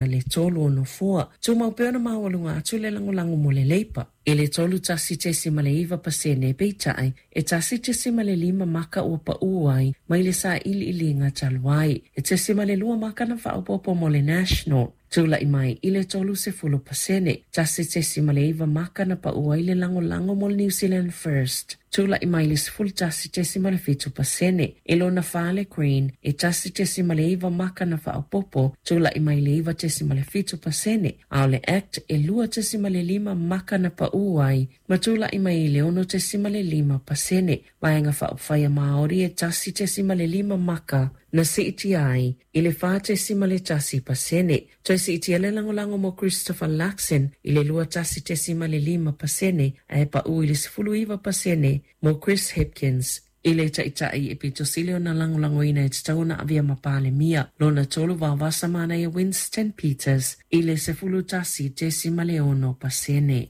Le tolu o nofoa, tumau pea ona maualuga atu le lagolago mo le Leipa i le 31.9%, peitai, e 1.5 maka ua pa'ū ai mai le sailiiliga talu ai. E 0.2 maka na faaopoopo mo le National, tula'i mai i le 30%. 1.9 maka na pa'ū ai le lagolago mo le New Zealand First, tula'i mai le 11.7%. E lona fa le Green, e 1.9 maka na faaopoopo, tula'i mai le 9.7%, a o le Act e 2.5 maka na pa'ū ai ma tula'i mai i le 6.5%. Vaega Faaupufai a Māori e 1.5 maka na siitia ai i le 4.1%. Toe siitia le lagolago mo Christopher Luxon i le 21.5% ae pa'ū i le 19% mo Chris Hipkins. I le Taitai e pito sili ona lagolagoina e tatau ona avea ma Palemia, lona tolu Vaovasamanaia Winston Peters i le 11.6%.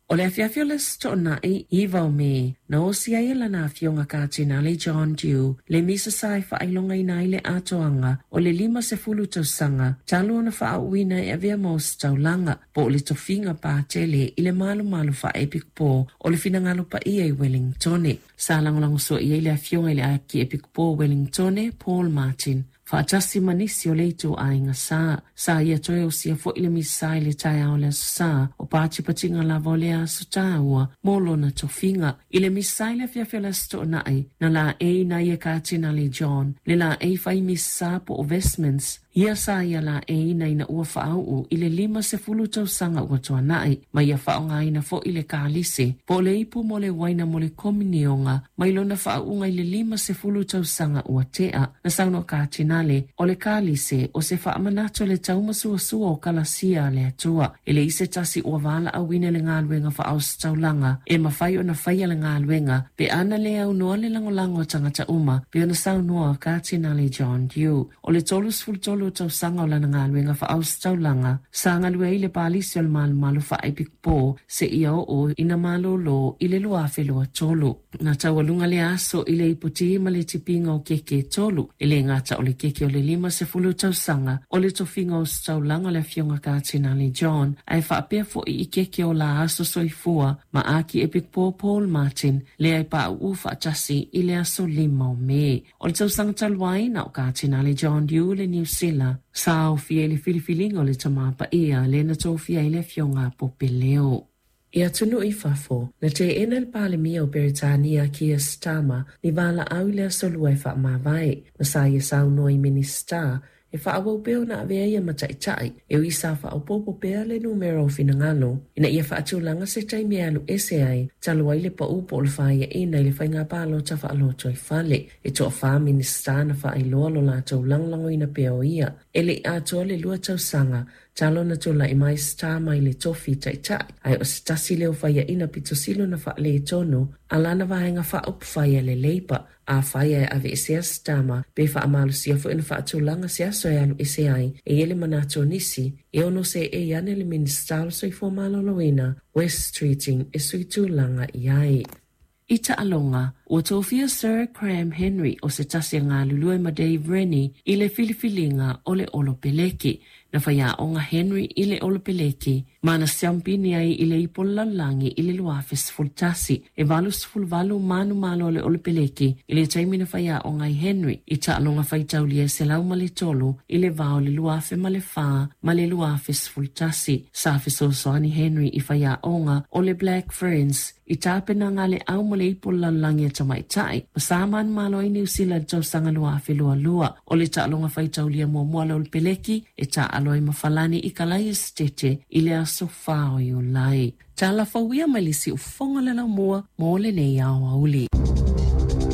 O le afiafi o le Aso Toonai, 9 o Me, na osi ai e lana Afioga Katinale John Dew le misa sa e faailogaina ai le atoaga o le 50 tausaga talu ona faaauuina e avea ma ositaulaga po o le tofiga patele i le malumalu faaepikopo o le Finagalo Paia i Wellingtone. Sa lagolagosua i ai le Afioga i le Akiepikopo o Wellingtone, Paul Martin, faatasi ma nisi o le ituaiga sa. Sa ia toe osia foi le misa i le taeao o le Aso Sa, o patipatiga lava o lea aso taua mo lona tofiga. I le misa i le afiafi o le Aso Toonai, na laeiina ai e Katinale John le laei fai misa po o vestments, Ia sa ia laeiina ina ua faauu i le 50 tausaga ua tuanai, ma ia faaaogaina foi le kalise po o le ipu mo le uaina mo le kominioga mai lona faauuga i le 50 tausaga ua tea. Na saunoa Katinale, o le kalise o se faamanatu o le taumasuasua o kalasia a le Atua. E leai se tasi ua valaauina i le galuega faaositaulaga e mafai ona faia le galuega pe ana le aunoa le lagolago a tagata uma, pei ona saunoa Katinale John Dew. O le 33 o tausaga o lana galuega faaositaulaga, sa galue ai i le Palisi o le Malumalu Faaepikopo seia oo ina malōlō i le 2023. Na taualuga lea aso i le iputi ma le tipiga o keke e tolu, e le gata o le keke o le 50 tausaga o le tofiga ositaulaga o le Afioga Katinale John, ae faapea foi i keke o la aso soifua ma Akiepikopo Paul Martin, lea e pauu faatasi i le aso 5 o Me. O le tausaga talu ai, na o Katinale John Dew le Niu Sila sa aofia i le filifiliga o le Tama Paia lea na tofia ai le Afioga a Pope Leo. I atunuu i fafo, na teena e le Palemia o Peretania Keir Starmer ni valaau i le Aso Lua e faamavae, ma sa ia saunoa i Minisita E faaauau pea ona avea ia ma taitai, e ui sa faaopoopo pea le numera o finagalo ina ia faatulaga se taimi e alu ese ai talu ai le pau po o le faiaina i le faiga palota faalotoifale. E toafa Minisita na faailoa lo latou lagolagoina pea o ia. E le i atoa le lua tausaga talu ona tulai mai Starr mai le tofi taitai, ae o se tasi lea o faiaina pito sili ona faaletonu a lana vaega faaupufai a le Labour. Afai ae aveesea Starmer, pe faamalosia foi ona faatulaga se aso e alu ese ai, e i ai le manatu o nisi, e ono seei ane le Minisita o le Soifua Maloloina, Wes Streeting, e sui tulaga i ai. I taaloga, ua tofia Sir Graham Henry o se tasi a galulue ma Dave Rennie i le filifiliga o le Olopeleki. Na faiaoga Henry i le Olopeleki ma na siampini ai i le ipo lalolagi i le 2011. E 88 manumalo a le Olopeleki i le taimi na faiaoga ai Henry i taaloga faitaulia e 103 i le va o le 2004 ma le 2011. Sa fesoasoani Henry i faiaoga o le Black Ferns i tapenaga a le Au mo le Ipo Lalolagi a Tamaitai ma sa manumalo ai Niu Sila i le tausaga 2022. O le taaloga faitaulia muamua a le Olopeleki e taaalo ai ma Falani i Kalaia Setete i le aso 4 o Iulai. Tala fou ia mai le siufofoga o le laumua mo lenei aoauli.